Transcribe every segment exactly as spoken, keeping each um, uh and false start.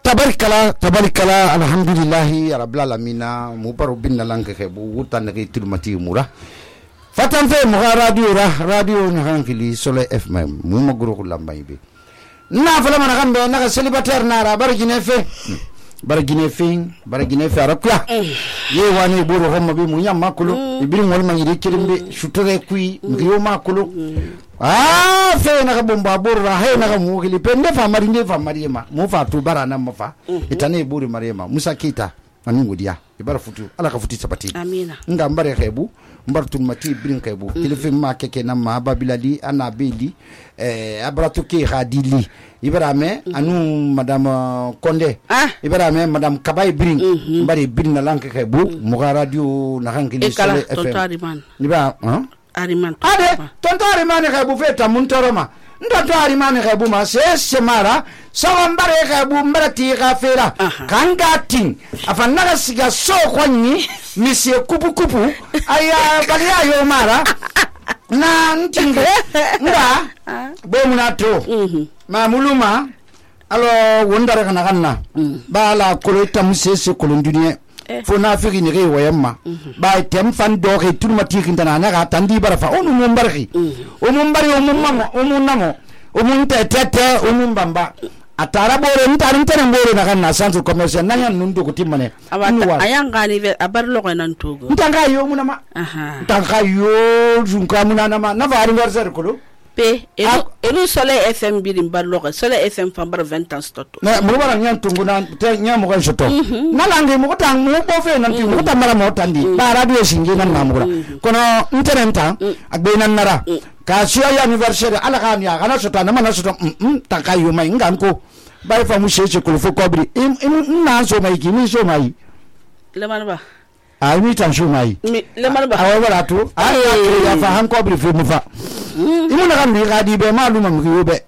tabarikala tabarikala alhamdulillahi rabbil alamin mu baro binna lanke ke bu wutan ke tilmati mura fatan fe mu radio ra radio na hankili Solo F M mu magro lambay be na fala mana kambe na célibataire na ra bargine fe bargine fe bargine fe arakya ye wani buru homma be mu nyamma kulu ibiri ngol ma yiri kirimbe shutere kui ngiyo ma kulu ah fe na bomba burra he na mu gili pende fa mari ne fa mari ma mu fa tu bara nan mafa itane buri mari ma musa kita anu godiya ibara futu ala ka futi sabati amina nga mbare xebu mbartul mati brin xebu kilife ma keke na ma babilali ana beli eh abrato ke khadili ibrahima anu madame Konde ibrahima madame Kabay brin mbare brin na lanke xebu mu radio na hankili Solo F M ni ba hein ariman ade tonto ariman xebu feta mun toroma ndo ariman xebu ma se semara sawa mbare xebu mbare ti xafera kanga tin afa naga siga so kwani misie kupu kupu aya baliya yo mara na ntinge nga bo munato ma muluma alo wondara kana kanna bala kolota musese kolonduniye fo na figi ni rewa yamma ba tem fan do ke turmati kintana na ga tandi barafa onu mo mbarki o mo mbari o mo mamo o mo namo o mo tete o mo mbamba atara bore ntari ntare bore na kan na centre commercial nanya nundu ko timmane ayanga ni abar logo nan togo ntanga yo munama aha ntanga yo junka munana ma na va anniversaire ko pe elu elu Solo F M birim bar logo Solo F M fambar vingt ans toto na mo bara nyan tungu na te nya mo kan soto na lange mo tang mo bo fe nan ti mo tamara mo tandi ba radio singi nan na mo kono interenta agbe nan nara ka siya ya anniversaire ala kan ya kana soto na mana soto mm tanka yo mai nganko bai fa mu shece ko fo kobri im na so mai ki mi so mai le manba a mi tan so mai le manba a wala to a ya fa han kobri fo mu fa imu na kan bi ga di be maluma mu yobe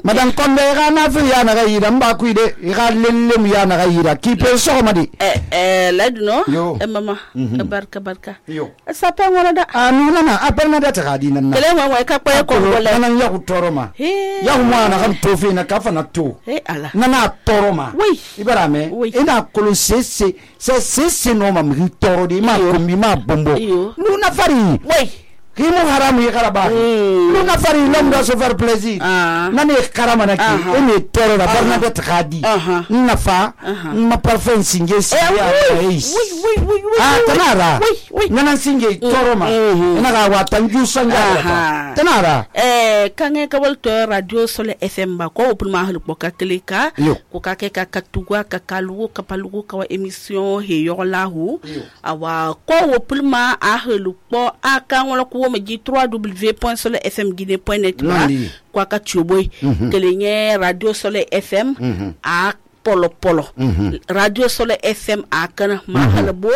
madan Konde ga na fi ya na ga yira mba ku ide ga lelle mu ya na ga yira ki pe so ma di eh eh ladno e mama barka barka yo sa pe ngona da anu na na apel na da ta ga di nan na kele mo wa ka pe ko wala nan ya ku toroma ya mu na kan to fi na ka fa na to eh ala na na toroma oui ibara me ina kolo sese se sese no ma mi toro di ma ko mi ma bombo nu na fari oui kimu haramu ya karaba lu na fari lom do so faire plaisir nani karama na ki ene toro la Bernadette Khadi na fa ma parfum singe si ya oui oui oui ah tanara nana singe toro ma ina ga wa tanju sanga tanara eh kange ka wolto radio Solo F M ba ko pour ma hal boka klika ko ka ke ka katugwa ka kalu ka palugo ka wa emission he yo lahu awa ko wo pour ma a hal po aka wala ko ma ji w w w point solo f m guinée point net kwa ka chuboy kelenye radio Solo F M a polo polo radio Solo F M a kana ma halabo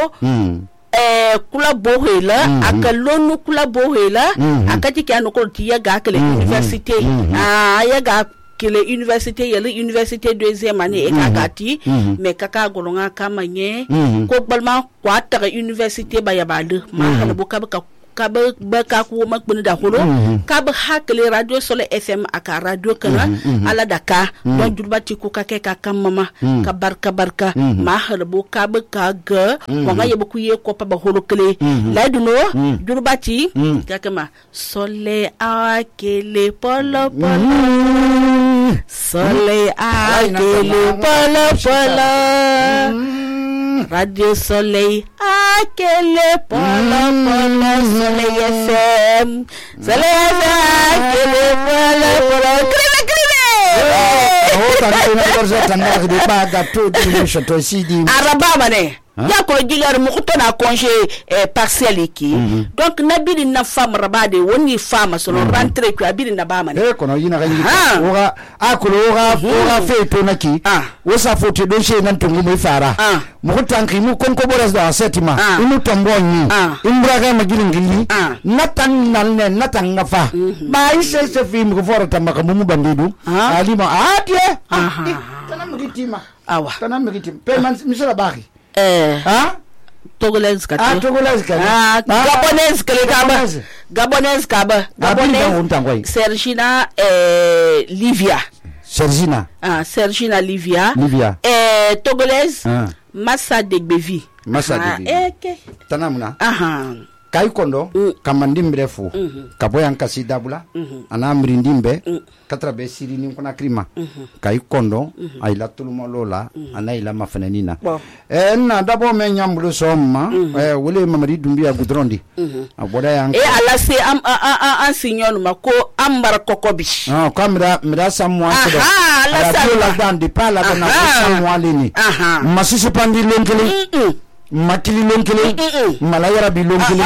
eh kula bohela aka lonu kula bohela aka tikano ko tiya ga kele université ah ya ga kele université yele université deuxième année e kakati mais kaka golonga kamanye ko balma kwa ta université ba ya bade ma halabo ka ka kabe baka ko makbuni da holo kabe hakle radio Solo F M aka radio kana ala daka don jurbati ko kake ka kamama ka barka barka ma halbo kabe ka ga wanga yebo ku ye ko pa ba holo kle laiduno jurbati kakama sole akele polo polo sole akele polo polo radio Soleil akele polo polo Soleil F M Soleil F M akele polo polo krive krive oh tani na korza tanga de ba ga to di shoto sidi araba mane ya ko gilar mu ko na congé partiel ki donc nabiri na femme rabade woni femme so rentrée ko abiri na ba mane eh kono yina ga ngi oga akulo oga oga fe to naki wo sa fote do she nan to ngi fara mu ko tanki mu kon ko boras da setima imu tombo ni imbra ga magilin gili natan nan ne natan ngafa ba ise se fi mu ko fora tamaka mu bandidu alima atie tanam gitima awa tanam gitim pe man misala baki eh ah Togolese ka ah Togolese ka ah Gabonese ka kaba Gabonese kaba Gabonese Sergina eh Livia Sergina ah Sergina Livia Livia eh eh, togolaise ah. Massa Degbevi. Massa Degbevi. Eh, okay. Tanamuna. Aha. Kai kondo mm. kamandim brefo mm -hmm. kaboyan kasi dabula mm -hmm. ana mrindimbe mm. katra be siri ni kona krima mm -hmm. kai kondo mm -hmm. ay la tulumo lola mm -hmm. ana ila mafenanina bon. eh na dabo me nyambulo somma mm -hmm. eh wole mamadi dumbiya gudrondi mm -hmm. aboda yan e ala se am an signol mako ambar kokobi ah kamera mira samwa ko ala sa la dan de pala na samwa lini masisi pandi lenkele mm -mm. Makili lonkele malayara bi lonkele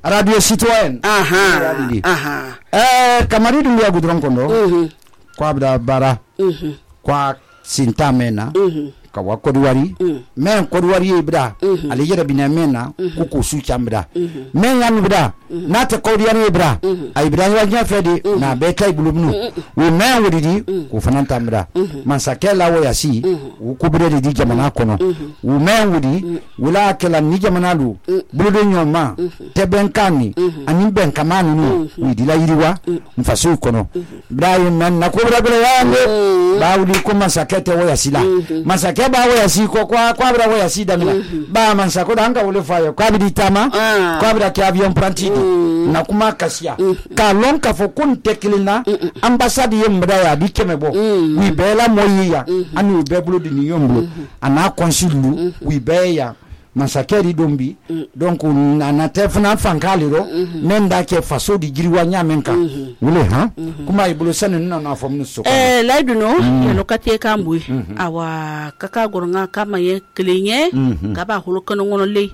radio citoyen aha aha eh kamari dum ya gudron kondo kwa bda bara kwa sintamena ka wa kodwari men kodwari ibra ali yera binamena kuko su chambra men yan ibra na ta kodwari ibra ay ibra ya nya fedi na be kai bulumnu we men wodidi ko fananta mra man sakela wo yasi ku bure di jamana kono we men wodi wala kala ni jamana lu buludo nyoma teben kani ani ben kamanu nu we di la yiriwa mfasu kono ibrahim man na ko bra bra yango ba wudi ko man sakete wo yasi la man sakete ba wo yasi ko kwa kwa bra wo yasi damila ba man sako danga wole fayo kwa bidi tama kwa bra ki avion prantidi na kuma kasia ka lon ka fo kun teklina ambassade yemba ya bi kemebo wi bela moyiya anu be bulu di yombo ana consul wi be ya masakeri dombi donc na tefna fankaliro nenda ke faso di giriwa nyamenka wule ha kuma ibulu sanu na na fo mnuso eh laiduno ya lokati kambu awa kaka goronga kama ye klinye kaba hulu kono ngono le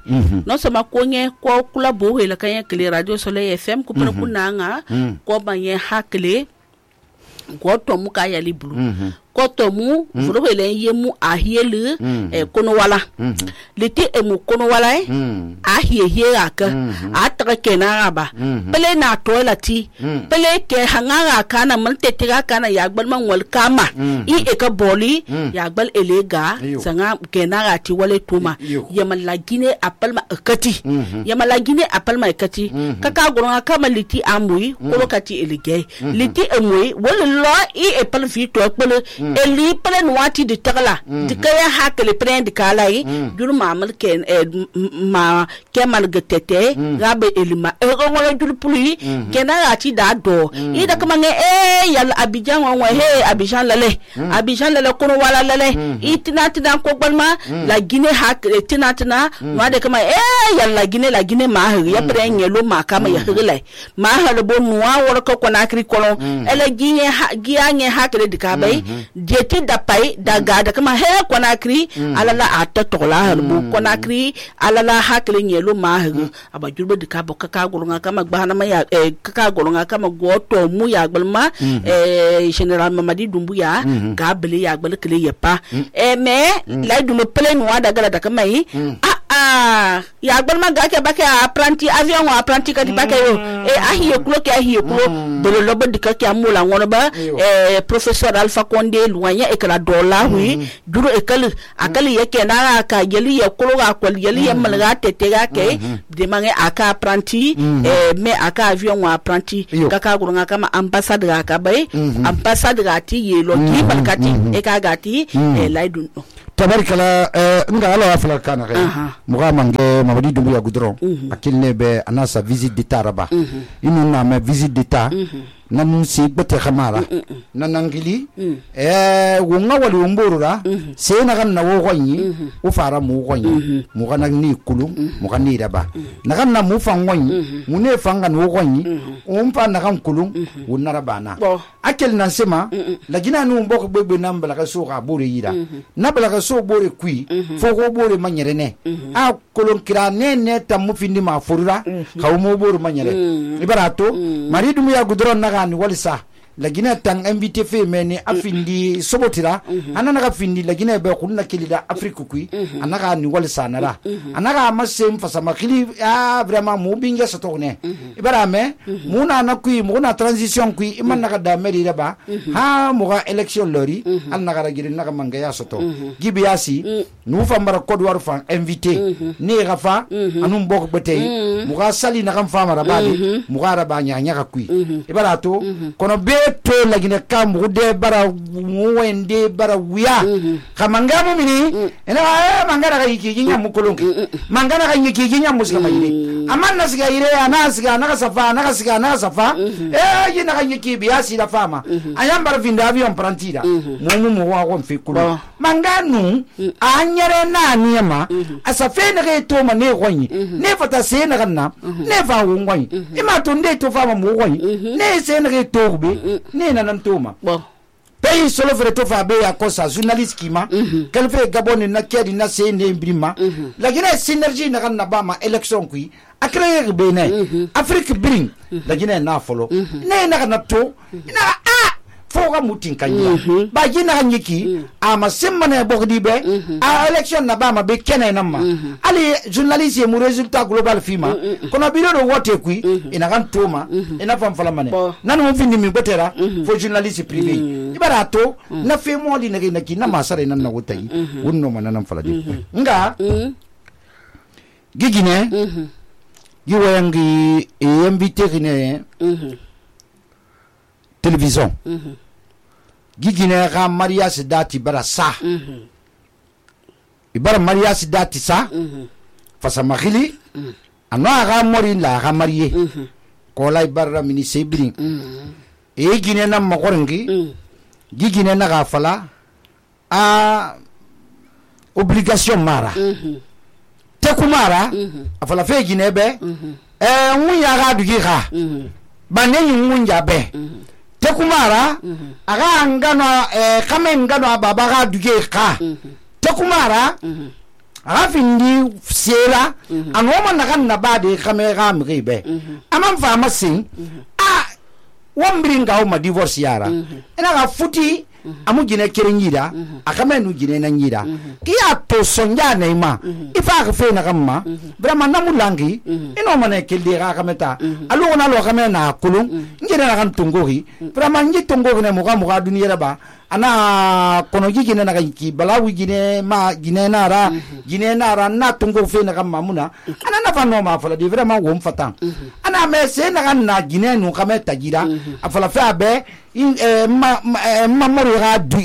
no sama konye ko kula bo hela kanya kle radio soleil fm ko pere kunanga ko banye hakle ko to muka ya libulu koto mu furo hele yemu ahiele e kono wala liti e mu kono wala e ahie hie aka atra kena aba pele na toileti pele ke hangara kana man tetira kana yagbal man wal kama i e ka boli yagbal elega sanga kena rati wale tuma yamal lagine apal ma kati yamal lagine apal ma kati kaka goronga kama liti amui kolokati elige liti emui wala lo i e pal fi to pele eli pelen wati de tagla de kaya hakle prend kalai jur mamal ken ma kemal getete gabe elima e wala jur puli kena ati da do ida kama nge e yal abijan wa he abijan lale abijan lale kono wala lale itina tina ko balma la gine hakle tina tina ma de kama e yal la gine la gine ma ya pren yelo ma kama ya hile ma halo bo nuwa wala ko na kri kolon ele gine gianye hakle de kabai ti da pai daga da kama he konakri mm. alala ata tola harbu mm. konakri alala hakle nyelo mahu aba jurbe de kabo kaka golonga kama gbana ma ya eh, kaka golonga kama goto mu ya gbalma mm -hmm. eh, general Mamadi Doumbouya mm -hmm. gabele ya gbele kele yepa mm. eh me mm. la du me pele no daga da kama yi mm. ah ah ya gbalma ga ke bake apprenti avion wa apprenti ka di bake yo e ahiye kulo ke ahiye kulo bele lobo dika ke amula ngono ba eh professeur Alpha Condé luanya e kala dola wi duro e kala akali yake na ka yeli ya kulo ga kwal yeli ya malga tete ga ke de mange aka apprenti eh me aka avion wa apprenti kaka gurunga kama ambassade ga ka bai ambassade ga ti yelo ki balkati e ka ga ti e laidun tabarikala nga ala afla kana kay muga mange Mamadi Doumbouya Goudron akilne be anasa visite d'état raba inu na ma visite d'état nan si bete khamara nan angili eh wonga wali womborura se na kan na wo gonyi u fara mu gonyi mu kan ni kulu mu kan ni raba na kan na mu fan gonyi mu ne fanga no gonyi um fa na kan kulu wonna rabana akel nan sema la gina nu mboko gbegbe nan bala ka so ka bore yira na bala ka so bore kui fo ko bore manyere ne a kolon kira ne ne tamu findi ma forura ka mo bore manyere ibarato Mamadi Doumbouya Goudron na ni walisa lagina tang invité fe meni afindi sobotira anana ka findi lagina be kunna kilida afrique kui anaka ni walisa nara anaka masem fasama kili ah vraiment mo binga sotone ibara me muna na kui muna transition kui iman naka da meri raba ha mo ga election lori anaka ragiri naka mangaya soto gibiasi nu fambara kodwar fan invité ni rafa anum bok betey mo ga sali naka fama rabadi mo ga raba nya nya ka kui ibara to kono be to lagine kam rude bara wende bara wiya kamanga mu mini ina eh mangara ga yiki ginya mukulunki mangara ga yiki ginya musika mayire amma nasiga ire ana siga na safa na siga na safa eh yina ga yiki biya si la fama ayam bara vinda avion prantida mu mu wa ko fi kulu manganu anyere na niema asafe na ga to ma ne gonyi ne fata se na ganna ne fa wonyi ima to nde to fama mu gonyi ne se na ga to be ne na nan to ma pays solo fere to fa be ya kosa journaliste kima quel fait gabon na kedi na se ne brima la gine synergie na ganna ba ma election kui akre be ne afrique bring la gine na folo ne na na to na a foga mutin kanya ba gina hanyiki ama semma ne bogdi be a election na ba ma be kene na ma ali journaliste mu resultat global fima kono biro do wote kui ina kan toma ina fam fala mane nanu mo findi mi betera fo journaliste privé ibara to na fe mo di nagi naki na masare nan na wotai wonno manana fala di nga gigine giwayangi e invité ne télévision gigine ga mariage dati bara sa ibara mariage dati sa fasa makhili anwa ga mori la ga marié ko lay barra mini sebrin e gine na makorengi gigine na ga fala a obligation mara te kumara afala fe gine be e wunya ga dugi ga bane wunya be te kumara aga ngano eh kame ngano baba ga duge ka te kumara aga findi sera anoma na kan na bade kame ga mribe amam fa masin a wambringa o ma divorce yara ina ga futi amu gine kerenyida akame nu gine na nyida kiya to sonja neima ifa ga fe na kamma vraiment namu langi ino mane kelde ga kameta alu na lo kame na kulun ngire na kan tungori vraiment ngi tungori ne mo ga mo ga duniya ba ana kono gine na ki balawi gine ma gine na ra gine na ra na tungo fe na kamma muna ana na fa no ma fala di vraiment wo mfatan ana me se na kan na gine nu kameta gira afala fa be in ma ma mori ga du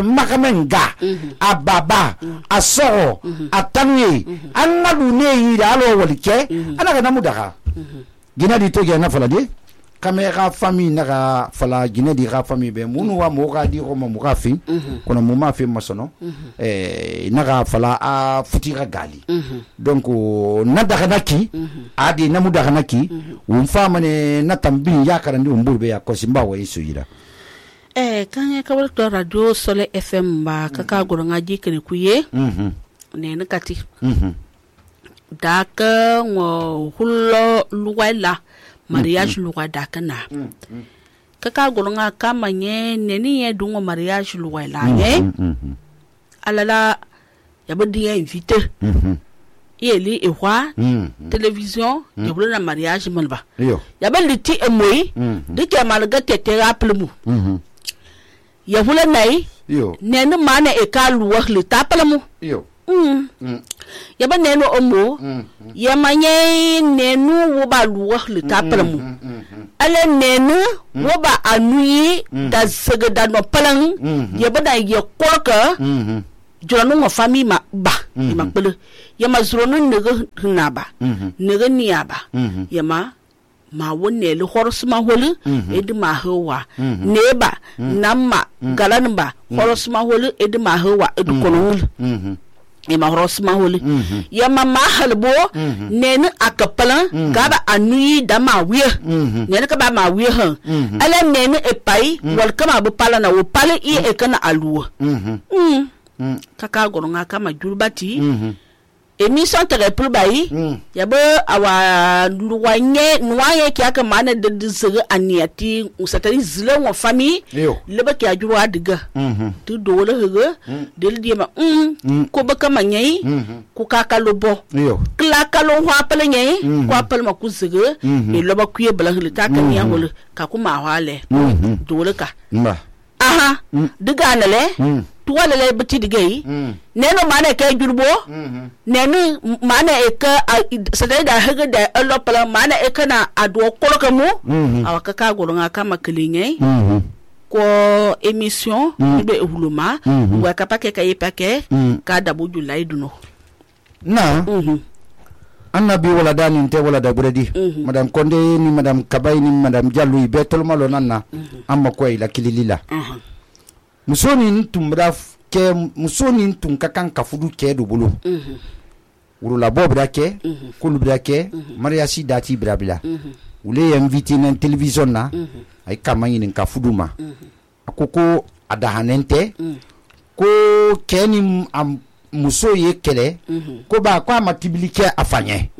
makamenga ababa asoro atanye anadu ne yira alo walike ana ga namu daga gina di to ge na fala di kamera famille na ga fala gina di ga famille be munu wa mo ga di ko mo ga fi kono mo ma fi masono eh na ga fala a futira gali donc na daga naki adi namu daga naki um fama ne na tambin ya karandi umburbe ya ko simba wa isu yira eh kanya kawal to radio Sole F M ba kaka goronga jikene kuye mhm ne nakati mhm daka ngo hullo luwala mariage luwa daka na kaka goronga kama nye neni ye dungo mariage luwala ye alala yabodi ye invité mhm yeli ewa télévision yabolo na mariage malba yabel liti emoyi de jamalga tete rappelmu mhm ya hula nai yo nenu mana e ka luwa le tapalamu yo mm mm ya ba nenu omo ya manye nenu wo ba luwa le tapalamu ale nenu wo ba anuyi da segeda no palang ya ba da ya koka jonu mo fami ma ba ma pele ya ma zuronu nege na ba nege niya ba ya ma ma wonne le horsma holu edi ma hawa neba namma galanba horsma holu edi ma hawa edi konol e ma horsma holu ya mama halbo nenu akapala gaba anui dama wiye nenu ka ba ma wiye ha ala nenu e pai wal kama bu pala na wo pale i e kana aluwa mm kaka goronga kama julbati émission tere pour bayi yabo awa luwanye nuwaye ki aka mana de zere aniati usatari zile wa famille leba ki ajuru adiga tu do le hege del di ma mm ko baka manyai ku kaka lobo kla kalo wa pele nyai ko apel ma ku zege e loba ku ye bala le ta ka ni angole ka ku ma wale do le ka aha diga nale tuwa lele bati digay neno mana ke jurbo nenu mana e ka sadai da haga da Allah pala mana e kana ado koloka mu awaka ka goronga kama kilinge ko émission be huluma wa kapake kay pake ka dabu julay duno na annabi wala dani te wala da buredi madame Konde ni madame Kabay ni madame Diallo be tolma lo nanna amma koy la kililila musoni tumbra ke musoni tun kakan kafudu ke do bulu wuro la bobra ke kulu bra ke mariasi dati brabila wule invité na télévision na ay kamanyi nin kafudu ma akoko adahanente ko keni am muso ye kele ko ba kwa matibilike afanye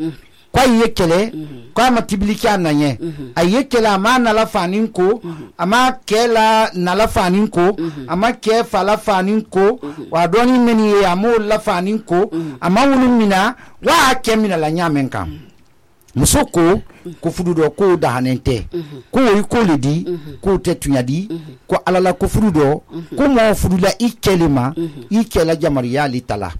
kwa ye kele kwa matibilike ananye aye kele ama na la fanin ko ama kela na la fanin ko ama ke fala fanin ko wa doni meni ye amo la fanin ko ama wulu mina wa kemina la nyamen kam muso ko ko fudu do ko dahanente ko yi ko ledi ko tetunyadi ko alala ko fudu do ko mo fudu la ikelema ikela jamariya li tala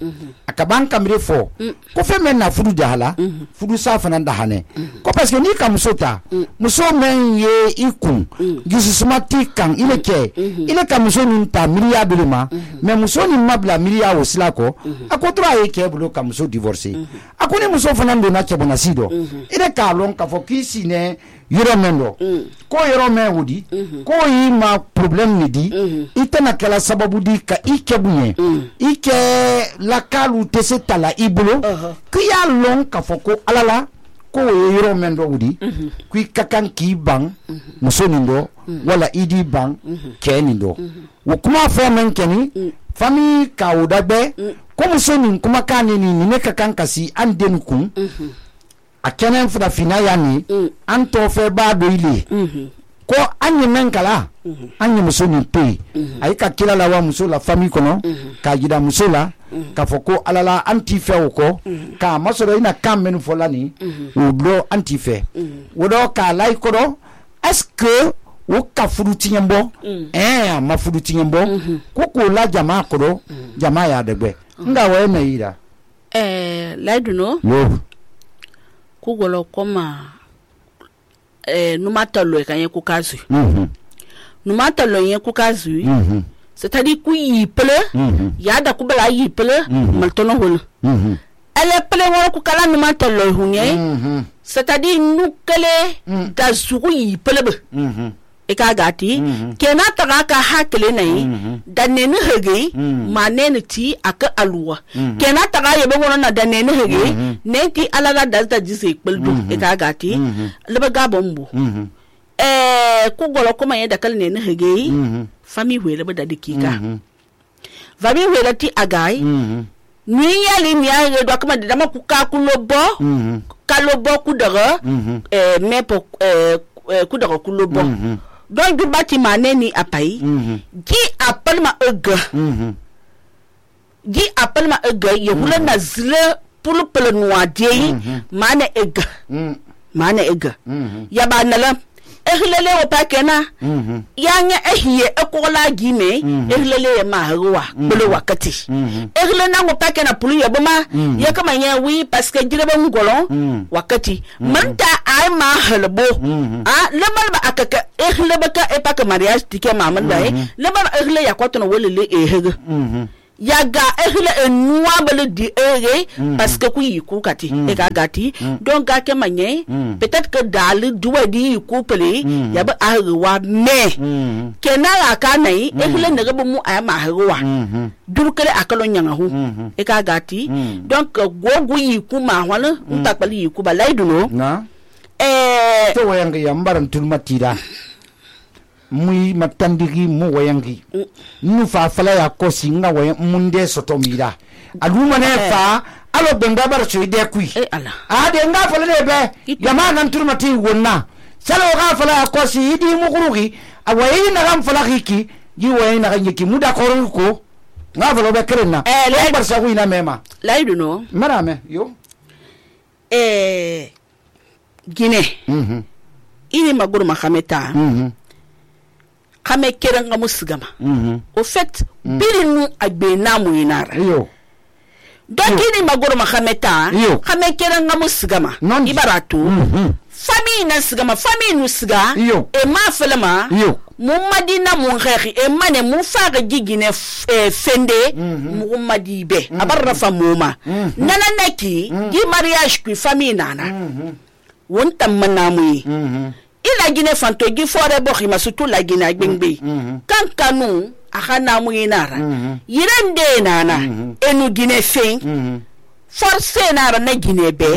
akaban kamre fo ko fe men na fudu dahala fudu safana dahane ko parce que ni kam musota muso men ye ikun gisusumati kan ile ke ile kam muso ni ta miliya bilima mais muso ni mabla miliya wosila ko akotra ye ke bulo kam muso divorcer akoni muso fana ndo na chebona sido ile ka lon ka fo kisi ne yoro mendo ko yoro me wudi ko yi ma problem ni di itana kala sababu di ka ikebunye ike la kalu tese tala ibulo ki ya lon ka fo ko alala ko yoro mendo wudi ku kakan ki bang muso nindo wala idi bang keni ndo wo kuma fo men keni fami ka udagbe ko muso ni kuma kani ni ne kakan kasi andenu kun a kenen fura fina yani mm. an to fe ba do ile mm-hmm. ko anyi men kala mm-hmm. anyi muso ni pe mm-hmm. ay ka kila la wa muso la famille kono mm-hmm. ka gida muso la mm-hmm. ka foko alala anti fe ko mm-hmm. ka masoro ina kam men folani mm-hmm. o do anti fe mm-hmm. wodo ka lay ko do est-ce que wo ka furu tinyembo mm-hmm. eh ma furu tinyembo mm-hmm. ko ko la jama ko do mm-hmm. jama ya degbe mm-hmm. nga wa na yira eh laiduno no kugolo koma eh numatalo kanye kukazu mhm numatalo yen kukazu mhm c'est-à-dire ku yiple mhm ya da kubala yiple maltono hol mhm ele ple wora ku kala numatalo hunye mhm c'est-à-dire nukele da zugu yiple be mhm e ka gati kena taga ka hakele nai da nenu hege manene ti aka aluwa kena taga yebe wono na da nenu hege nenti alaga dalta jise kpeldu e ka gati leba gabombo eh ku golo kuma ye da kal nenu hege fami wele ba da dikika fami wele ti agai ni yali ni ya do kuma da ma ku ka ku lobo ka lobo ku daga eh mepo eh ku daga ku lobo donc du bâtiment neni apai qui appelle ma ega qui appelle ma ega ye hula na zile pour le noir die mana ega mana ega ya ba nala ehlele o pakena yanya ehiye ekola gime ehlele ma hawa bolo wakati ehlele na ngo pakena pulu ya boma ya kama nya wi parce que direba ngolon wakati manta ay ma halbo ah lemal ba akaka ehlele baka e pak mariage tike mama dai lemal ehlele ya kwatno wolele ehege yaga ehle enwa bele di ere parce que ku yiku kati e ga gati donc ga ke manye peut-être que dal duwa di yiku pele ya ba arwa me kenara ka nai ehle ne gabo mu ay ma harwa durkele akalo nyanga hu e ga gati donc gogu yiku ma wala ntakpali yiku ba laiduno na eh to wayanga ya mbaran tulmatira mui matandigi mu wayangi nu fa fala ya kosi nga wayan munde sotomira aluma ne fa alo benga bar so ide kui eh ala a de nga fala de be yama nan turmati wonna salo ga fala ya kosi idi mu kurugi awayi na ram fala hiki yi wayi na ganyeki muda koru ko nga fala be krena eh le bar sa ina mema laidu no marame yo eh Guinée mhm ini maguru mahameta mhm kame keren ga musigama au fait birinu agbe namu inara yo donc ini magoro mahameta kame keren ga musigama ibarato famille na sigama famille nu siga e ma felema mumadina mun khexi e mane mu faga gigine fende muhammadi be abarra famuma nana neki gi mariage ku famille nana wonta manamu ila gine fanto gi fore bo khima sutu la gine agbengbe kan kanu akana mu inara yirende nana enu gine fe force nara na gine be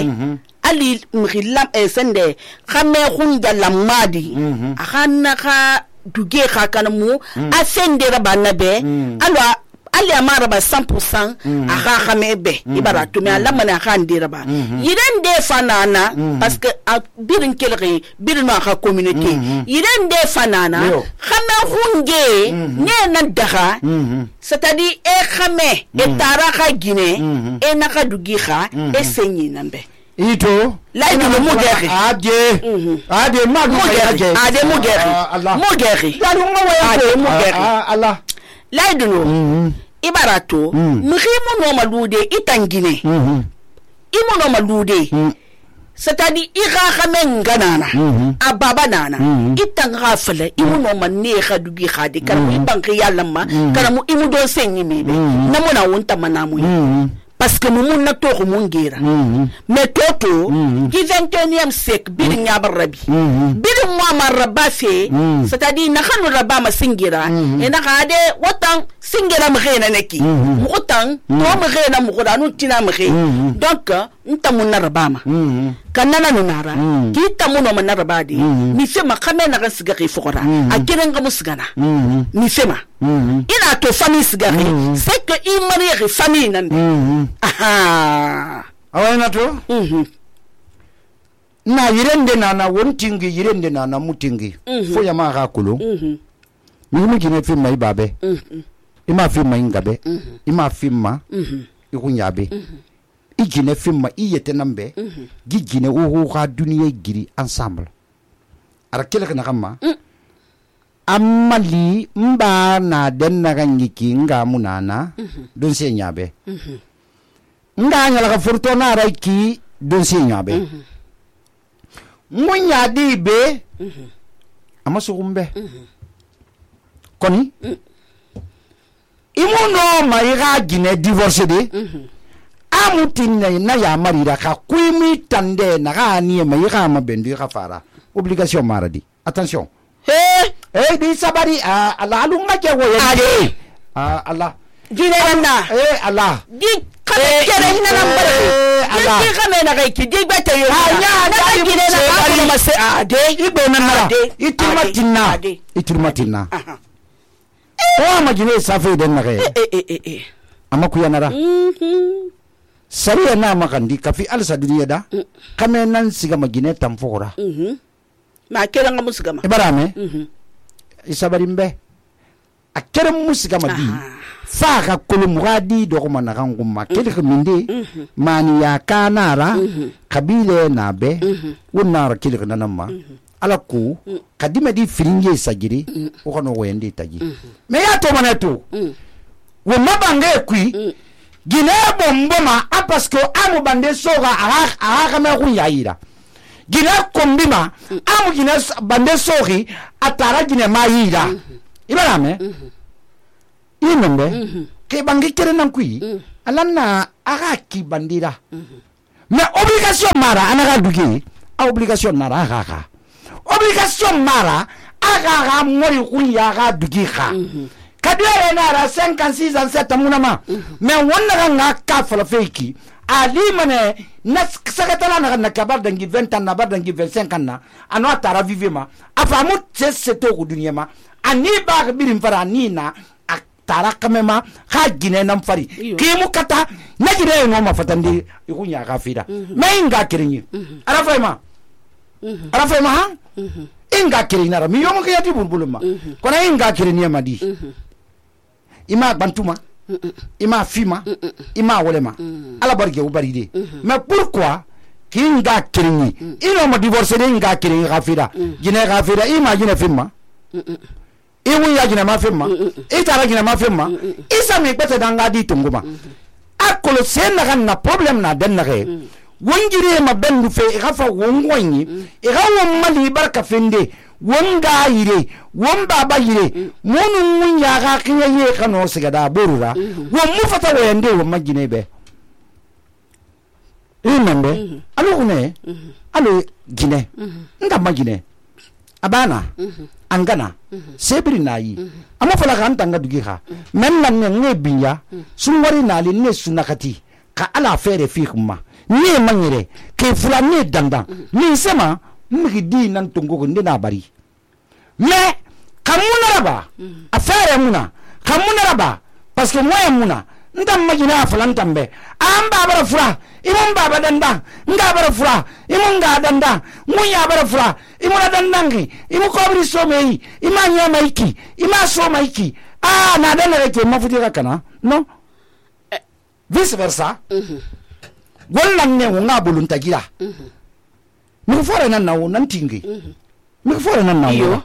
ali mkhilam e sende khame khunja lamadi akana ka duge kha kanamu asende rabana be alwa ali amara ba cent pour cent aha khame be ibara to me alla mana kha ndira ba yiren de fanana parce que birin kelri birin ma kha communauté yiren de fanana khame khunge ne nan daga c'est-à-dire e khame e tara kha gine e na kha dugi kha e senyi nambe ito la ino mo geri ade ade ma mo geri ade mo geri mo geri dalu mo wa ade mo geri Allah la ino ibarato mkhimo no malude itangine imo no malude c'est-à-dire ira khamen ganana ababa nana itanga fele imo no manne khadugi khade kan ibanki yalama kan mu imo do senyi mebe namona wonta manamu parce que nous mun na to ko mun gera mais toto qui vingt et unième siècle bir nya barabi bir mo ma rabafe c'est-à-dire na khanu raba ma singira e na khade wotan singira ma khena neki wotan to ma khena mu khudanu tina ma khe donc nta mun na raba ma kanana no nara ki ta mun no na raba di ni fe ma khame na ga siga ki fukora a kiren ga musgana ni fe ma ina to famille sigari c'est que il marie famille nan aha awena to na yirende nana wontingi yirende nana mutingi fo ya ma ga kulo ni mi kine fi mai babe ima fi mai ngabe ima fi ma ikunyabe igine fi ma iyete nambe gigine wo ga duniya giri ensemble ara kele kana kama amali mba na den na ganyiki nga munana don se nyabe nga nyala ka furto na raiki don se nyabe munya dibe amaso kumbe koni imuno maiga gine divorce de amutin na ya marira ka kuimi tande na ga ni maiga mabendi ka fara obligation maradi attention eh eh di sabari ah ala lunga ke wo yende ah ala gine na eh ala di kame kere hina number ala di kame na kai ki di bete yo anya na gine na ka ma se ade ibe na na itimatina itimatina o ma gine safe den na kai eh eh eh amaku ya nara sariya na makandi kafi alsa duniya da kame nan siga magine tamfora mhm ma kera nga musigama ibarame mhm isabari mbe akere musigama di fa ka kolumugadi do ko manaka ngumma kele ko minde mani ya kanara kabile na be wonara kele ko nanama ala ku kadime di firinge sagiri o kono wende taji me ya to maneto wo mabange kui gine bomboma a parce que amu bande soga aha aha kama ku yaira gine kombima amu gine bande sogi atara gine mayira ibarame inombe ke bangi kere nan kui alanna aga ki bandira mais obligation mara anaga dugi a obligation nara aga obligation mara aga ga mori kunya ga dugi kha kadere nara cinquante-six ans sept munama mais wonna nga ka fala feki ali mane na sakatala na na kabar dangi vingt ans na bar dangi vingt-cinq ans na ano atara vivema afamu tseto ku dunya ma ani ba birim fara ni na atara kamema ha gine nam fari kimu kata na gine no ma fatandi ikunya kafira me inga kirinyi arafa ma arafa ma ha inga kirina ra mi yomo ke yati bulbuluma kona inga kirinyi madi ima bantuma ima fima ima wolema ala barge u baride mais pourquoi kinga kirinyi ino ma divorcer inga kirinyi kafira gine kafira ima gine fima i wun ya gina ma femma i tara gina ma femma isa mi gbete danga di tunguma akolo sen na kan na problem na den na ge wongire ma bendu fe i gafa wongwanyi i ga won mali barka fende wonga yire won baba yire munu mun ya ga kinya ye kano siga da borura won mu fata wayande won magine be imambe alo une alo gine nda magine abana angana sebri nayi amma fala kan tanga dugi ha men nan ne ne binya sun wari nali ne sunakati ka ala fere fi kuma ne manyire ke fula ne danda ni sema migi di nan tungo ndina bari me kamuna raba afere muna kamuna raba parce que moi muna ndam magina falan tambe am baba fura imon baba danda nga bara fura imon nga danda munya bara fura imon dandangi imon ko bri so mei imanya maiki ima so maiki ah na dana reke mafuti kana no vice versa mhm gollan ne nga bulunta gira mhm mi fore nan nawo nan tingi mhm mi fore nan nawo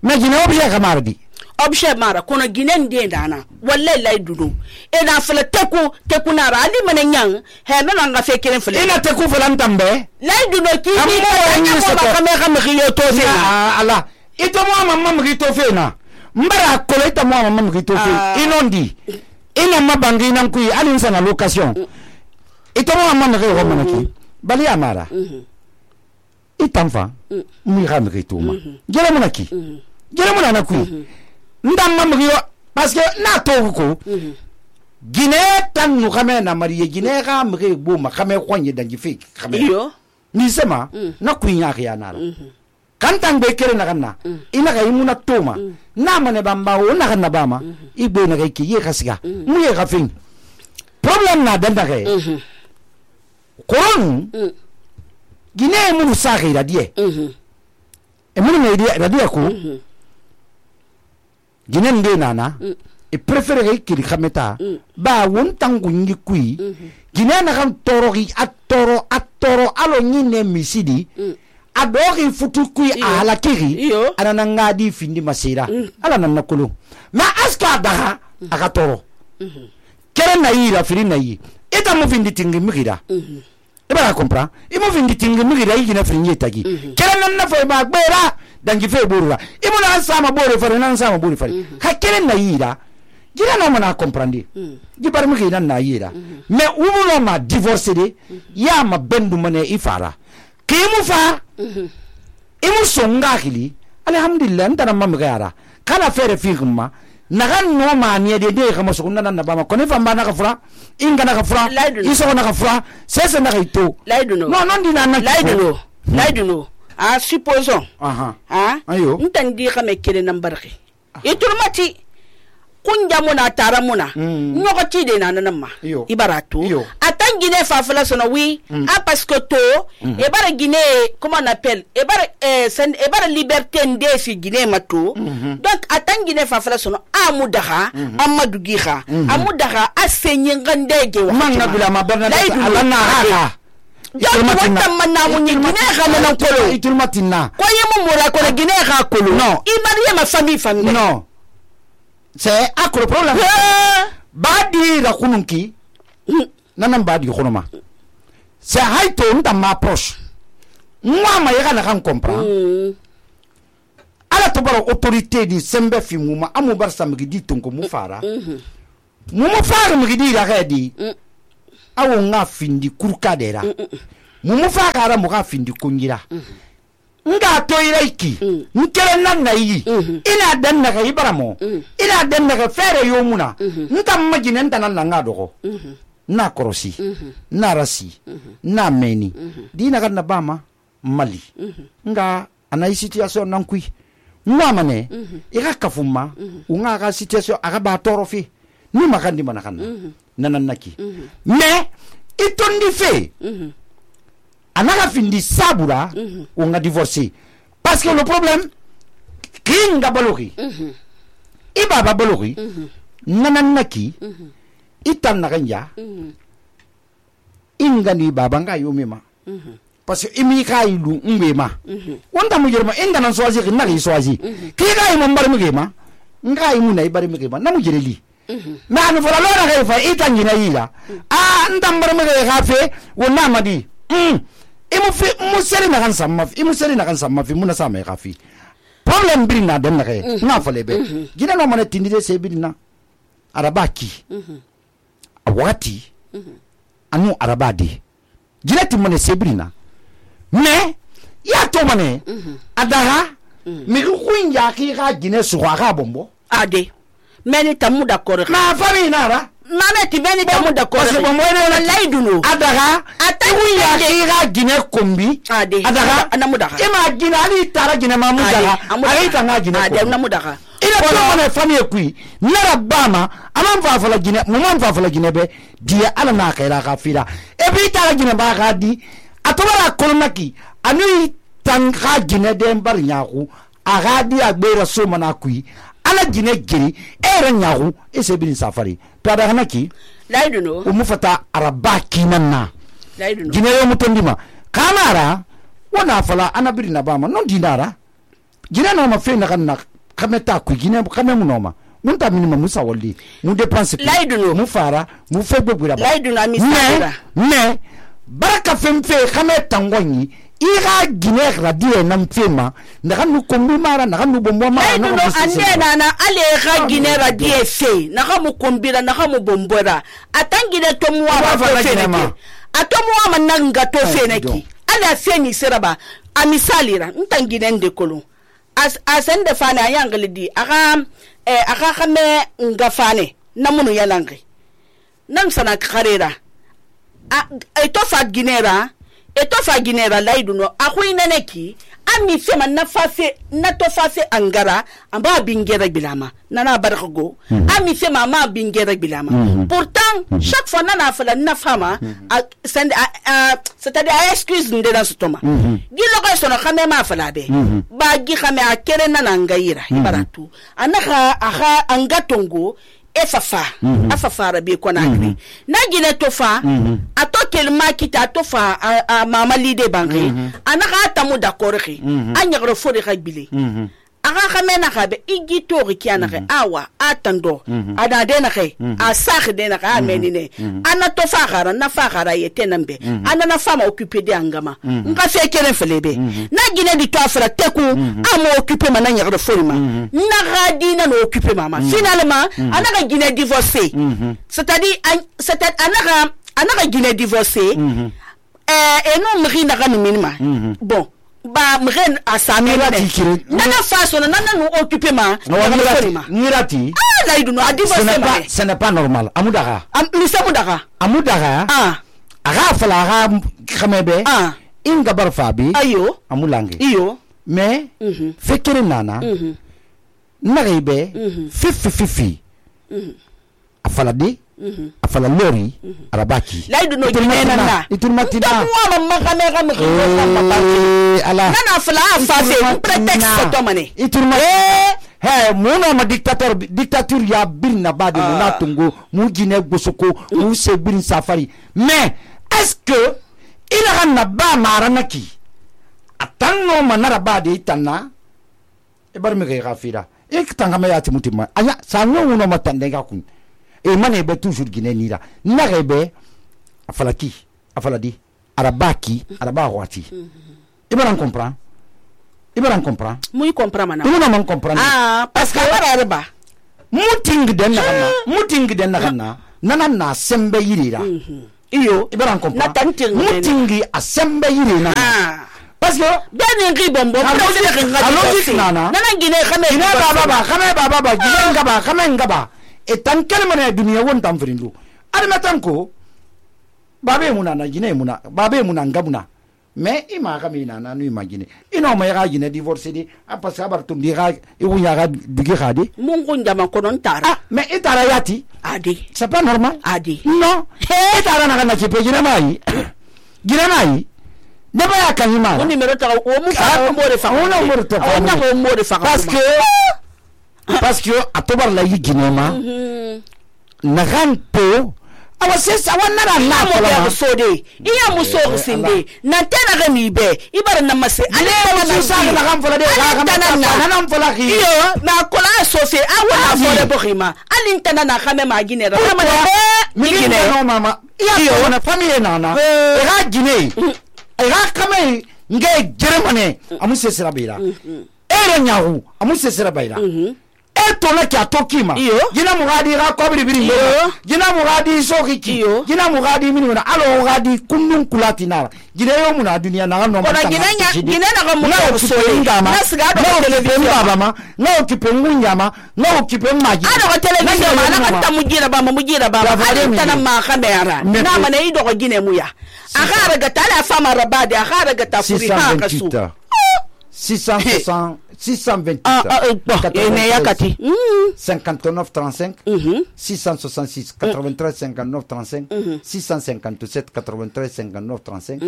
me gina obje kamardi obje mara kono ginen de dana wallahi lay dudu e na fele teku teku na ra ali manen yang he na na fe kelen fele ina teku fele ntambe lay dudu ki ni ko kame kame khiyo to fe ala ito mo mama mri to fe na mbara ko ito mo mama mri to fe inondi ina mabangi nan ku ali sana location ito mo mama mri ko manaki bali amara itamfa mi ramri to ma jere manaki jere manana ku ndam mamriyo parce que na to ko gine tan nu xame na mariye gine ga mre bo ma xame xonye dangi fi xame yo ni sema na ku nya ya na la kan tan be kere na kanna ina ga imuna toma na mane bamba o na kanna bama ibo na ga ki ye khasiga mu ye khafin problem na danda ga koron gine mu sa ga ira die e mu ne ira die ko gine nde nana e préféré kiri khameta ba won tangu ngi kui gine na kan torogi atoro atoro alo nyine misidi adori futu kui ala kiri ana ngadi findi masira ala nan nakulu ma aska daha aka toro kere na yira firi na yi eta mo findi tingi migira e ba compra e mo findi tingi migira yi na firi tagi kere nan na fo ma gbera dangi fe borura e mo na sama bore fare nan sama bore fare ka kere na yira gira na mana comprendre di bar migira na yira me ubulo ma divorcer de ya ma bendu mane ifara kimu fa imu songa kili alhamdulillah ndana mamga yara kana fere fikuma nagan no mani de de kama sokunda na bama kone fa mbana ka fura inga na ka fura iso na ka fura sese na ka ito no non di na na laiduno laiduno a supposons aha ha ayo ntandi kama kele nambarki iturmati kunja muna tara muna nyoko chide na nanama ibaratu atan Guinée fa fala sono oui ah parce que to e bara Guinée comment on appelle e bara e bara liberté ndesi Guinée mato donc atan Guinée fa fala sono amudaha amadou giha amudaha asenye ngandege wa manga bila maberna alana ha donc wata manamu ni Guinée ga nan kolo itulmatina ko yemu mura ko Guinée ga kolo non imariye ma famille famille non c'est à quoi le problème badi la kununki nanam badi khonoma c'est haito nda ma approche moi ma yega na kan comprendre ala to baro autorité di sembe fi muma amu bar samgi di tonko mu fara mu mu fara mi di la redi awu nga findi kurkadera mu mu fara ra mu ga findi kungira nga to ireki nkere nan na yi ina dan na ga ibaramo ina dan na ga fere yomuna nta magine nta nan nga dogo na korosi na rasi na meni dina ga na bama mali nga ana situation nan kui ngwa mane ira kafuma unga ga situation aga ba torofi ni makandi manakana nanan naki mais itondi fe anaka findi sabura mm -hmm. on a divorcé parce que le problème kinga balogi mm -hmm. iba ba balogi mm -hmm. nananaki mm -hmm. itan nakanya mm -hmm. ingani baba nga yomema mm -hmm. parce que imi kailu ngema mm -hmm. wonda mu jerma inga nan soazi na ri soazi mm -hmm. kiga imo mbar mugema nga imuna ibari mi ba namu jereli ma an fala lo na ga fa ita ngina yila a ndam bar mi ga fe wonna madi mm imu fi mu seri na kan samma imu seri na kan samma fi muna sama ga fi problem bi na dem na ga na fale be gina no mana tindide se bi na arabaki awati anu arabadi gina timone se bi na me ya to mane adaha mi ku ya ki ga gina su ga bombo ade meni tamu d'accord na fami na ra mama ti meni tamu d'accord parce que bon moy laiduno adaga atawu ya kira gine kombi adaga anamu daga ima gine ali tara gine mamu daga ali tanga gine ade namu daga ina ko na fami kui nara bama amam fa fala gine mumam fa fala gine be dia ala na khaira khafira e bi tara gine ba ga di atobara kolonaki anu tanga gine dem bar nyaku aga di agbera so mana kui ala gine giri era nyaku e se bin safari to ada hanaki laiduno o mufata arabaki nanna laiduno gine yo mutondima kamara wana fala anabiri na bama non dinara gine no ma fe na kanna kameta ku gine kame mu noma mun ta minima musa walli mu dépense laiduno mu fara mu fe gbegura ba laiduno amisara ne baraka femfe kameta ngonyi ira gine radie na mfema ndakanu kombi mara ndakanu bombo mara na no ande na na ale ga gine radie fe na ga mu kombira na ga mu bombora atangine to mu wa fa fe ne atomu wa mananga to fe ne ki ala fe ni seraba amisalira ntangine nde kolo as asende fane ayanglidi aga eh aga kame ngafane namunu yalangi nan sana karera a eto fa ginera eto fa ginera laiduno akuina neki ami fema na fase na to fase angara amba bingera bilama nana bargo mm -hmm. ami fema ma bingera bilama mm -hmm. pourtant mm -hmm. chaque fois nana fala na fama mm -hmm. c'est-à-dire a excuse de dans ce toma mm -hmm. gilo ko sono khame ma fala be mm -hmm. ba gi khame akere nana ngaira mm -hmm. ibaratu anaka aha angatongo efafa mm -hmm. afafara be kona mm -hmm. na gine tofa mm -hmm. atokel makita tofa a, a mama lide bangi mm -hmm. anaka tamu d'accord ki mm -hmm. anyagro fori khabile mm -hmm. aga khamena khabe igitori kiana ke awa atando mm -hmm. ada dena ke mm -hmm. asakh dena ka amenine mm -hmm. ana tofa khara na fa khara yetenambe mm -hmm. ana na fama occuper de angama mm -hmm. nka fe kere felebe mm -hmm. na gine di toafra teku mm -hmm. amo occuper mana nyagro fori ma mm -hmm. na gadina no occuper mama mm -hmm. finalement mm -hmm. anaka gine divorcer mm -hmm. c'est-à-dire c'est-à-dire anaka anaka gine divorcer mm -hmm. euh et non mri na ga minima mm -hmm. bon ba mren asami wale nana façon nana nous occuper ma nirati ah là il nous a divorcé ce n'est pas normal amudara am amudara amudara ah aga fala aga khamebe ah inga barfabi ayo amulangi iyo mais fekere nana naribe fifi fifi afala di afala lori arabaki laidu no ginena na iturmatina wa mamma kamera mkhimba ala nana afala afase pretext to mane iturma he muno ma dictateur dictature ya birna bade na tungo mu gine gosoko mu se birin safari mais est-ce que ila ganna ba maranaki atanno manara bade itanna e bar me ga gafira e kitanga me yati mutima aya sanyo uno matande ga kun e mane be toujours gine nira narebe afalaki afaladi arabaki araba wati ibara comprend ibara comprend muy comprend mana ibara man comprend ah parce que araba muting den na kana muting den na kana nana na sembe yirira iyo ibara comprend mutingi a sembe yirina ah parce que ben ngi bombo logique nana nana gine khame gine baba ba khame baba ba gine ngaba khame ngaba etan kelmane dunia won tam frindu admetan ko babe muna na gine muna babe muna ngabuna mais ima ga mina na nu imagine ino ma ga gine divorce di apa sabar tum di ga e wunya ga dugi khadi mungu ndama ko non tara ah mais itara yati adi c'est pas normal adi non itara na na chipe gine mai gine mai deba ya kanima on numéro ta o mu fa mo re fa on mo re fa on na mo re fa parce que parce que atobar la yiginema nagan po awa sesa wanara na fola so de iya muso sinde na tena ga mi be ibara na mase ale na sa na kan fola de ga ga na na fola ki iyo na kola so fe awa na fola bokhima alin tana na khame ma gine ra ma mi gine no mama iya na famille na na e ga gine e ga kame nge germane amu sesera beira ere nyahu amu sesera beira eto na kya tokima jina mugadi ga kobri biri jina mugadi sokiki jina mugadi mini na alo gadi kunnun kulati na jina yo muna duniya na no ma jina jina na ga muna so ngama na siga do television baba ma na okipe ngunyama na okipe maji ado ga television ma na kanta mujira ba mujira ba ali tana ma kamera na ma ne ido go gine muya aga ga tala fama rabade aga ga tafuri ha ka su six cent soixante six cent vingt-huit ah ah cinquante-neuf trente-cinq six cent soixante-six quatre-vingt-treize cinquante-neuf trente-cinq six cent cinquante-sept quatre-vingt-treize cinquante-neuf trente-cinq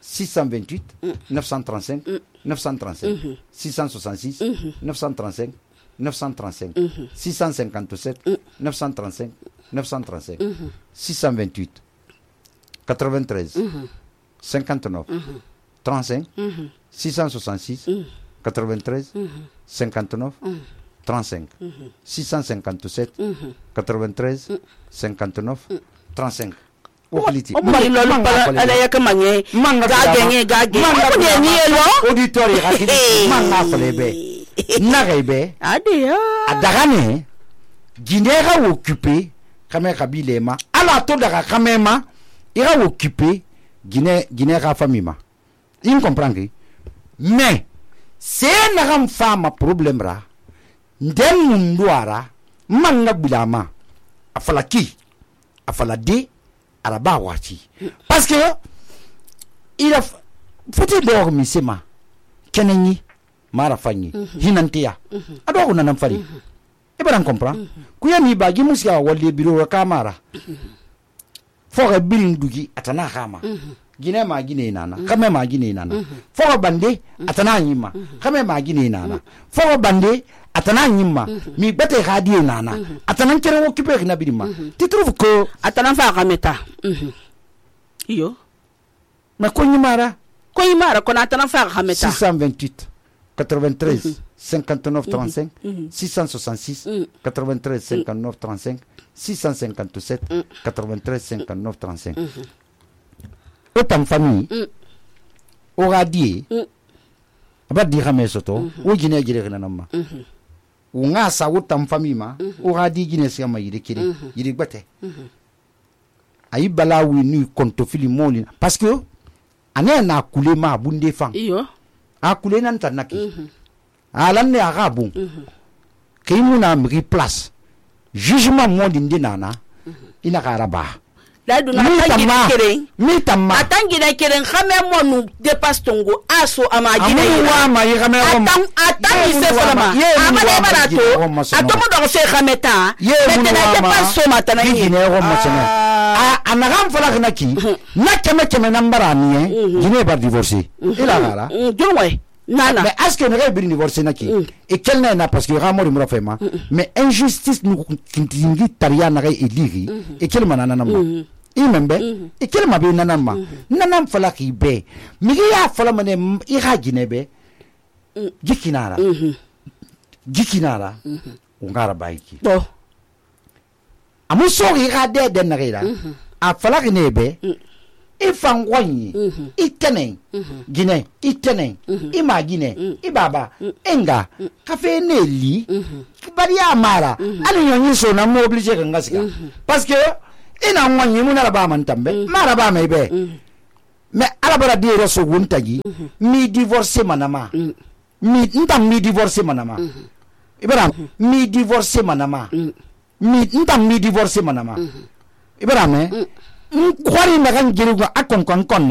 six cent vingt-huit neuf cent trente-cinq neuf cent trente-cinq six cent soixante-six neuf cent trente-cinq neuf cent trente-cinq six cent cinquante-sept neuf cent trente-cinq neuf cent trente-cinq six cent vingt-huit quatre-vingt-treize cinquante-neuf trente-cinq six cent soixante-six quatre-vingt-treize cinquante-neuf trente-cinq six cent cinquante-sept quatre-vingt-treize cinquante-neuf trente-cinq okliti mari lolu para ala yakamanye gagenge gage ko ni elo auditori rakiti manga flebe nagebe adia adagane ginera occupé kame kabilema ala to daga kamema ira occupé Guinée Guinée ka famima il comprend que mais c'est na fama problème ra ndem munduara manga bilama afalaki afalade araba wati parce que il a faut dormir sema kenenyi mara fanyi hinantia ado ko nanam fari e baran comprend ku yami ba gi musia walle biro kamara fo bilin dugi atana khama Guinée ma Guinée nana kame ma Guinée nana fo bande atana nyima kame ma Guinée nana fo bande atana nyima mi bete khadi nana atana kere occupé na bidima tu trouves que atana fa kameta iyo mais ko nyimara ko nyimara ko atana fa kameta six cent vingt-huit quatre-vingt-treize cinquante-neuf trente-cinq six cent soixante-six quatre-vingt-treize cinquante-neuf trente-cinq six cent cinquante-sept quatre-vingt-treize cinquante-neuf trente-cinq autant famille au radier ba di xamé soto o jine jire na nama o nga sa autant famille ma o radi jine si ma yiri kiri yiri gbate ayi bala wi nu konto fili moli parce que ane na kule ma bunde fan iyo a kule nan tanaki alan ne aga bon kay mu na mi place jugement mo dinde nana ina karaba la duna tangina keren mi tamma atangina keren khame mo nu dépasse tongo aso amagine wa ma yi khame ko atan atan se forma amane barato atomo do se khameta metena dépasse so matana yi ne ko masana a anagam fala kinaki na keme keme nambara ni gine ba divorcer ila gara jonwe nana mais est-ce que ne va bien divorcer naki et quel n'est na parce que ramo de mrofema mais injustice nous kintingi taria na eliri et quel manana na imembe e kelma be nanama nanam fala ki be mi ya fala mane i ha ginebe gikinara gikinara ungara baiki to amuso ri ga de de nagera a fala ki nebe e fangwanyi i tenen gine i tenen i magine i baba enga kafe neli bari amara ali nyonyi so na mo oblige ka ngasika parce que ina nwanyi mu na ba man tambe mara ba mai be me alabara di roso wuntagi mi divorcer manama mi ntam mi divorcer manama ibara mi divorcer manama mi ntam mi divorcer manama ibara me kwari na kan giru akon kon kon na